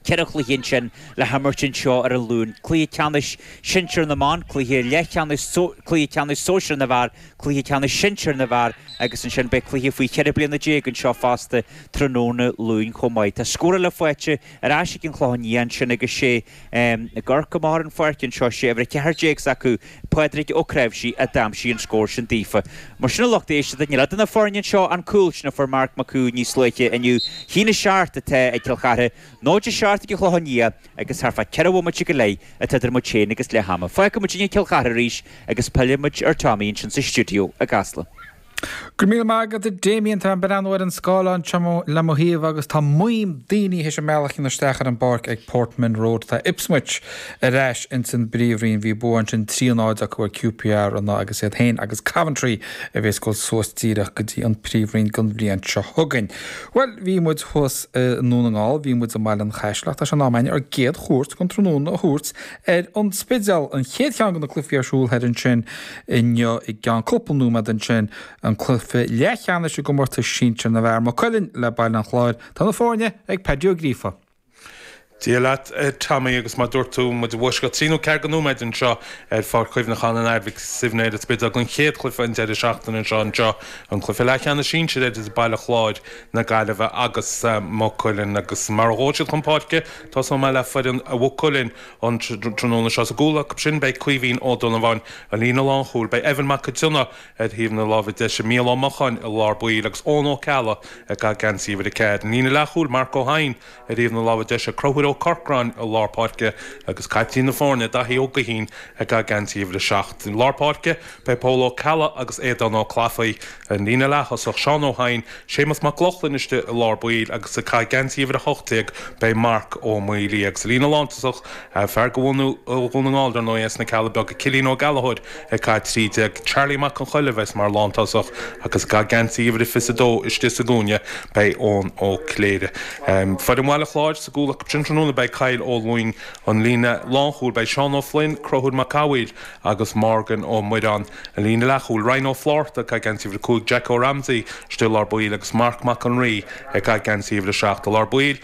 4 chluiche ansin le himirt anseo ar an Luan, cluiche ceannais sinsir na mban, cluiche leathcheannais, cluiche ceannais sóisir na bhfear, cluiche ceannais sinsir na bhfear agus ansin beidh cluiche faoi 14 bliana anseo fosta tráthnóna Luain chomh maith. Tá scór eile faighte ar ais ag an Chlochán Liath ansin agus sé ag amharc amach ar an pháirc anseo, sé uimhir 14 s'acu, Pádraig Ó Cnáimhsí, a d'aimsigh an scór sin daofa. Mar sin a lucht éisteachta, níl idir na foirne anseo an cúl sin a fuair Marc Mac Cumhaill níos luaithe inniu. 1-7 atá ag Cill Chartha, 0-7 ag an Chlochán Liath agus thart fá 4 bhomaite go leith atá idir muid féin agus leath ama. Fágfaidh muid Cill Chartha arís agus pillfidh muid ar Tommy ansin sa stiúideo i gCasla. Go raibh míle maith agat a Damien, tá mé ag breathnú ar an scáileán anseo le mo thaobh agus tá maidhm daoine théis a mbealach a dhéanamh isteach ar an bpáirc ag Portman Road. Tá Ipswich ar ais ins an bPríomhroinn. Bhí bua ansin 3-0 acu ar QPR inné agus iad féin agus Coventry a bhéas ag dul suas díreach go dtí an Príomhroinn don bhliain seo chugainn. Bhuel, bhí muid thuas i nDún na nGall, bhí muid i mBaile an Chaisil ach tá sé in am againn ár gcéad chuairt den tráthnóna a thabhairt ar an Spidéal, an chéad cheann de na cluichí ar siúl thoir ansin inniu i gceann cúpla nóiméad ansin, an cluiche leathcheannais i gcomórtas sinsir na bhfear, Maigh Cuilinn le Baile an Chláir. Tá na foirne ag Paddy Ó Gríofa. Dia leat, a Tommy, agus mar dúirt tú, muid i bhfoisceacht trí nó ceathair de nóiméid anseo ar Pháirc Chuimhneacháin an Athar Mhic Suibhne ar an Spidéal don chéad chluiche an deireadh seachtaine anseo anseo, an cluiche leathcheannais sinsir idir Baile Chláir na Gaillimhe agus Maigh Cuilinn. Agus mar a ghabhfaidh siad chun páirce, Tosóidh mé le foireann Mhaigh Cuilinn an tráthnóna seo. Sa gcúl acu sin beidh Caoimhín Ó Donnabháin, an líne lánchúil. Beidh Evan Mac Cionnaith ar thaobh na láimhe deise, Mícheál Ó Mocháin i lár baill agus Eoin Ó Ceallaigh ag caitheamh geansaí uimhir 4. An líne leathchúil, Marc Ó hEidhin ar thaobh na láimhe deise, Conchúr Ó Corcráin i lár páirce agus caiptín na foirne, Daithí Ó Guithín ag caitheamh geansaí uimhir 7. I lár páirce beidh Pól Ó Ceallaigh agus Aodán Ó Clafaí. An líne leath-thosach, Seán Ó hEidhin, Séamus Mac Lochlainn istigh i lár baill agus ag caitheamh geansaí uimhir 18 beidh Marc Ó Maolaodha. Agus sa líne lántosach, fear de bhunadh Dhún na nGall dar ndóigh as na Cealla Beaga, Cillian Ó Gallchóir ag caitheamh 13, Charlie Mac Con Choille a bheas mar lántosach agus ag caitheamh geansaí uimhir 22 istigh sa gcúinne beidh Eoin Ó Cléirigh. Foireann Bhaile Chláir sa gcúl acu sin tráthnóna beidh Kyle Ó Lúing, an líne lánchúil beidh Seán Ó Floinn, Conchúr Mac Cathmhaoil agus Morgan Ó Muireáin. An líne leathchúil, Ryan Ó Flátharta ag caitheamh geansaí uimhir 5, Jack Ó Ramsay istigh i lár baill agus Marc Mac an Rí ag caitheamh geansaí uimhir 7 i lár baill.